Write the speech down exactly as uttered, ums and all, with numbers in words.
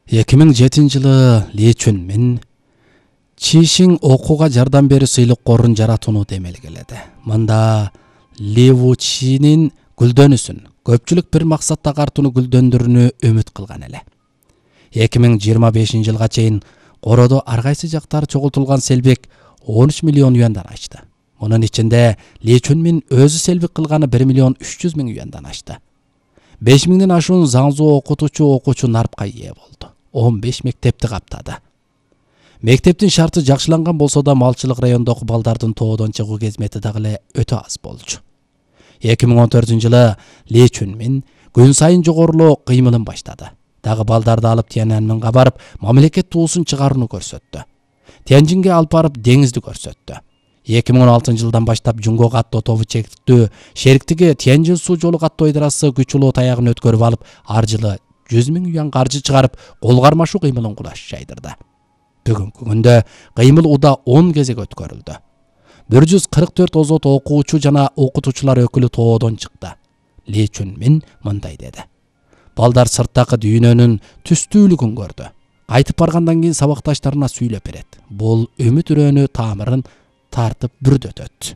эки миң жетинчи жылы Ли Чунмин Чишиң окууга жардам берүү сыйлык корун жаратууну демелгеледи. Мында Ли Вучинин гүлдөнүсүн, көпчүлүк бир максатта картууну гүлдөндүрүүнү үмүт кылган эле. эки миң жыйырма бешинчи жылга чейин короодо ар кайсы жактары чогултулган селбек он үч миллион юандан ашты. Мунун ичинде Ли Чунмин өзү селбик кылганы бир миллион үч жүз миң юандан ашты. беш миңден ашуун Заңзу окутуучу окуучу нарпка ээ болду. он беш мектепти каптады. Мектептин шарты жакшыланган болсо да малчылык райондогу балдардын тоодон чыгуу кезмети дагы эле өтө аз болчу. эки миң он төртүнчү жылы Ли Чунмин күн сайын жогорулоо кыймылын баштады. Дагы балдарды алып Тяньаньмэнге барып, мамлекет туусун чыгарууну көрсөттү. Тяньжинге алып барып деңизди көрсөттү. эки миң он алтынчы жылдан баштап Жунго каттоо тобу чектүү шериктиги Тяньжин суу жолу каттоо ыйдарасы күч улуу таягын өткөрүп алып, ар жылы жүз миң юан каржы чыгарып, кол кармашуу кыймылын кулаш жайдырды. Бүгүнкү күндө кыймыл уда он кезек өткөрүлдү. бир жүз кырк төрт озот окуучу жана окутуучулар өкүлү тоодон чыкты. Ли Чунмин мындай деди: балдар сырттагы дүйнөнүн түстүүлүгүн көрдү. Кайтып баргандан кийин сабакташтарына сүйлөп берет. Бул үмүт үрөөнү тамырын тартып бүрдөтөт.